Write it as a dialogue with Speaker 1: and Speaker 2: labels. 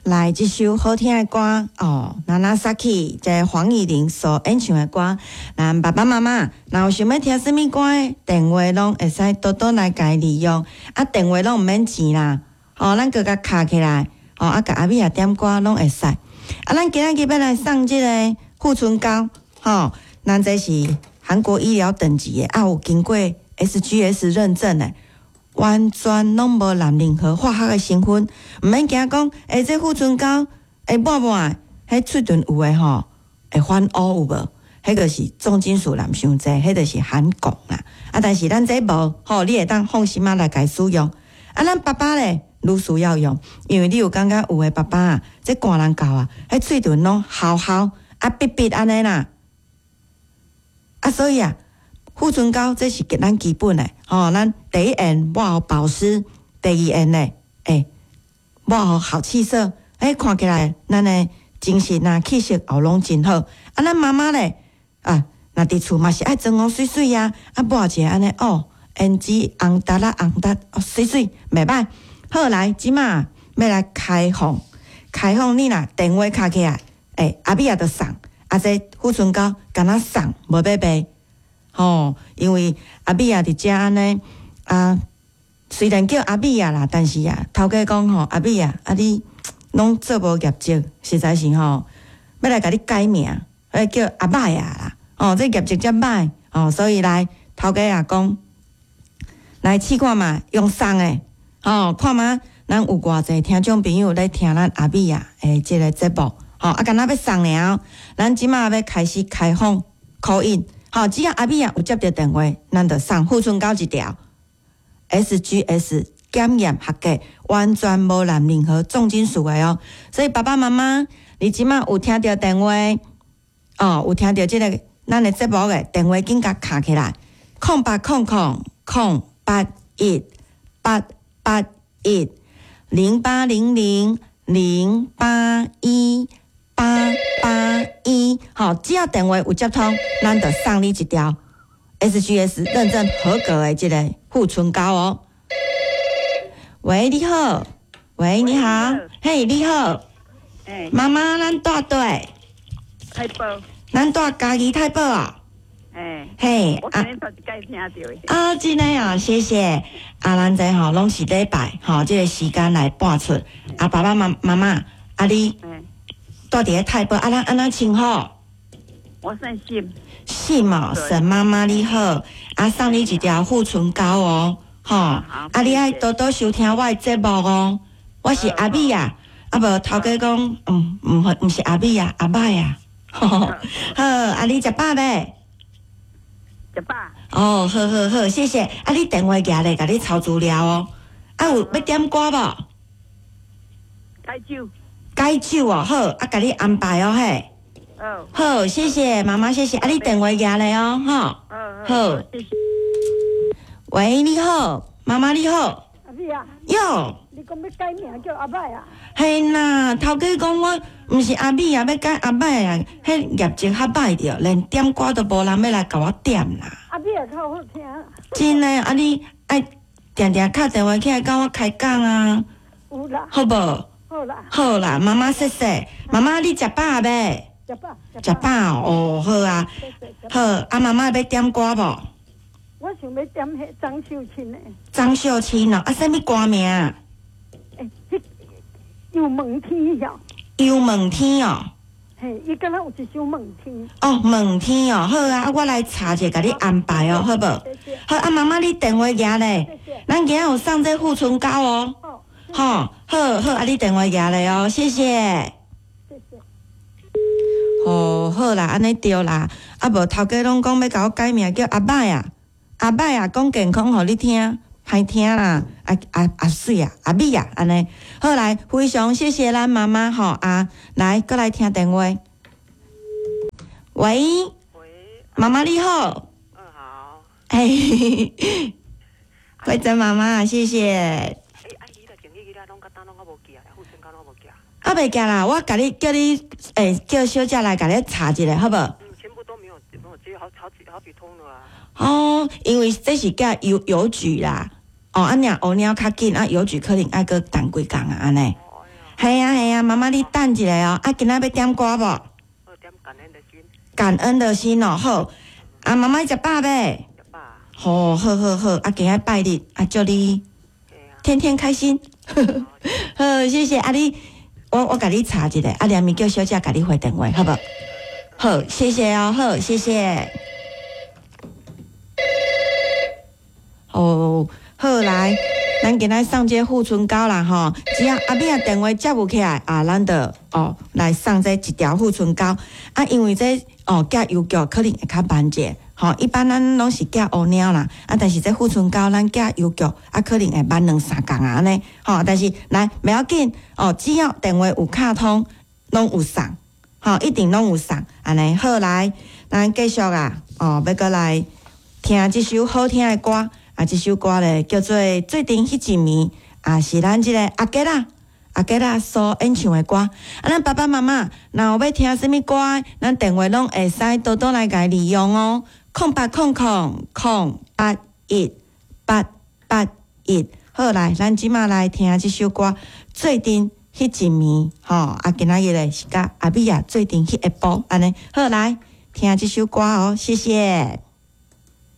Speaker 1: 來，這首好聽的歌哦，Nanasaki 這黃乙玲所演唱的歌。咱爸爸媽媽若有想欲聽啥物歌的，電話攏會使多多來共伊利用。啊，電話攏毋免錢啦，哦，咱閣共敲起來，哦，啊，共阿美仔點歌攏會使。啊，咱今仔日欲來送這個護唇膏，吼，咱這是韓國醫療等級的，啊，有經過 SGS 認證的。完全攏無含任何化學的成分，毋免驚講，欸，這護唇膏會抹抹，彼喙唇有的吼會反烏有無？彼個是重金屬含傷濟，彼就是含汞啦。啊，但是咱這無，吼，你會當放心仔來共使用。啊，咱爸爸咧，愈需要用，因為你有感覺有的爸爸啊，這寒人到啊，彼喙唇攏厚厚啊，癟癟按呢啦。啊，所以啊，護唇膏這是咱基本的，吼，咱第一眼抹予保濕，第二眼咧，欸，抹予好氣色，欸，看起來咱的精神啊、氣色也攏真好。啊，咱媽媽咧，啊，若佇厝嘛是愛妝容媠媠啊，啊，抹一下按呢，哦，胭脂紅達仔紅達，哦，媠媠，袂䆀。好來，這馬欲來開放，開放你若電話敲起來，欸，阿美仔就送，啊，這護唇膏敢若送，無欲賣。吼，因為阿美仔佇遮按呢啊，雖然叫阿美仔啦，但是啊，頭家講吼，阿美仔，啊你攏做無業績，實在是吼，欲來共你改名，欲叫阿歹仔啦，哦，這業績遮歹，哦，所以來頭家也講，來試看覓，用送的，吼，看覓，咱有偌濟聽眾朋友咧聽咱阿美仔的這個節目，吼，啊，敢若欲送爾，咱這馬欲開始開放 call in。好，只要阿美仔有接著電話，咱就送護唇膏一條，SGS 檢驗合格，完全無含任何重金屬的哦。所以爸爸媽媽，你這馬有聽著電話，哦，有聽著這個咱的節目的電話，緊共敲起來，0800 081 881，0800 081 881，好，只要電話有接通，咱就送你一條 SGS 認證合格的這個護唇膏哦。喂，你好，喂，你好，嘿，你好，媽媽，咱住佗？
Speaker 2: 太保。
Speaker 1: 咱住嘉義太保啊。
Speaker 2: 欸，
Speaker 1: 嘿，
Speaker 2: 我今日頭一擺聽著的。
Speaker 1: 啊，真的啊，謝謝。啊，咱這吼攏是禮拜吼，這個時間來播出。啊，爸爸媽媽媽，啊你住佇咧太保，啊咱按怎稱呼？
Speaker 2: 我姓沈。
Speaker 1: 沈哦，沈媽媽你好，啊送你一條護唇膏哦，吼，啊你愛多多收聽我的節目哦。我是阿美仔，啊無頭家講，毋毋是阿美仔，阿歹啊。好，啊你食飽未？
Speaker 2: 食飽。
Speaker 1: 哦，好好好，謝謝。啊你電話舉咧，共你抄資料哦。啊有欲點歌無？
Speaker 2: 解酒。
Speaker 1: 解酒哦，好，啊，共你安排哦，嘿。好，謝謝媽媽，謝謝。啊，你電話舉咧哦，吼。好。
Speaker 2: 謝謝。
Speaker 1: 喂，你好，媽媽你好。
Speaker 3: 阿美啊。
Speaker 1: 喲。
Speaker 3: 你講欲改名叫阿歹啊？
Speaker 1: 嘿啦，頭家講我毋是阿美啊，欲改阿歹啊，彼業績較歹著，連點歌都無人欲來共我點啦。
Speaker 3: 阿美仔較好聽。
Speaker 1: 真的，啊你愛定定敲電話起來共我開講啊。
Speaker 3: 有啦。
Speaker 1: 好無？
Speaker 3: 好啦。
Speaker 1: 好啦，媽媽謝謝。媽媽你食飽未？
Speaker 3: 食飽。
Speaker 1: 食飽哦，好啊。好，啊媽媽欲點歌無？
Speaker 3: 我想欲點彼張秀卿的。
Speaker 1: 張秀卿哦，啊，啥物歌名？
Speaker 3: 欸，彼油問天曉。
Speaker 1: 油問天哦。
Speaker 3: 嘿，伊敢若有一首問天。
Speaker 1: 哦，問天哦，好啊，我來查一下，共你安排哦，好無？好，啊，媽媽你電話舉咧，咱今仔有送這護唇膏哦。好，好好，啊，你電話舉咧哦，謝謝。
Speaker 3: 謝謝。
Speaker 1: 哦，好啦，按呢對啦，啊無頭家攏講欲共我改名叫阿歹啊，阿歹啊，講健康予你聽，歹聽啦，啊啊啊媠啊，阿美啊，按呢，好來，非常謝謝咱媽媽吼啊，來，閣來聽電話。喂。
Speaker 4: 喂。
Speaker 1: 媽媽你好。
Speaker 4: 嗯，好。
Speaker 1: 嘿，慧珍媽媽，謝謝。
Speaker 4: 欸，啊，伊個前幾日攏到今攏猶無寄啊，護唇膏攏無寄啊。
Speaker 1: 啊，未寄啦，我共你叫你，欸，叫小姐來共你查一下，好無？
Speaker 4: 嗯，全部都沒有，沒有接，好好幾好幾通了啊。
Speaker 1: 哦，因為這是寄郵局啦，哦，啊，若烏鳥較緊，啊，郵局可能愛閣等幾工啊，按呢。係啊係啊，媽媽你等一下哦。啊，今仔欲點歌無？
Speaker 4: 好，點感恩的心。
Speaker 1: 感恩的心哦，好。啊，媽媽食飽未？
Speaker 4: 食飽。
Speaker 1: 好，好好好，啊，今仔拜日，啊，祝你天天開心。好，謝謝啊你，我共你查一下，啊，連咪叫小姐共你回電話，好無？好，謝謝哦，好，謝謝。哦，好來，咱今仔送這個護唇膏啦吼，只要阿美仔電話接無起來啊，咱就哦來送這一條護唇膏啊，因為這哦寄郵局可能會較慢者。吼，一般咱攏是寄烏貓啦，啊，但是這護唇膏咱寄郵局啊，可能會慢兩三工啊按呢。吼，但是來袂要緊哦，只要電話有敲通，攏有送，吼，一定攏有送。按呢好來，咱繼續啊，哦，欲閣來聽這首好聽的歌，啊，這首歌咧叫做《做陣彼一暝》，啊，是咱這個阿杰仔。阿杰仔所演唱的歌，啊，咱爸爸媽媽若有欲聽啥物歌，咱電話攏會使多多來共利用哦。0800 081 881，好來，咱這馬來聽這首歌《做陣彼一暝》吼，啊，今仔日咧是佮阿美仔做陣去下晡，按呢好來聽這首歌哦，謝謝。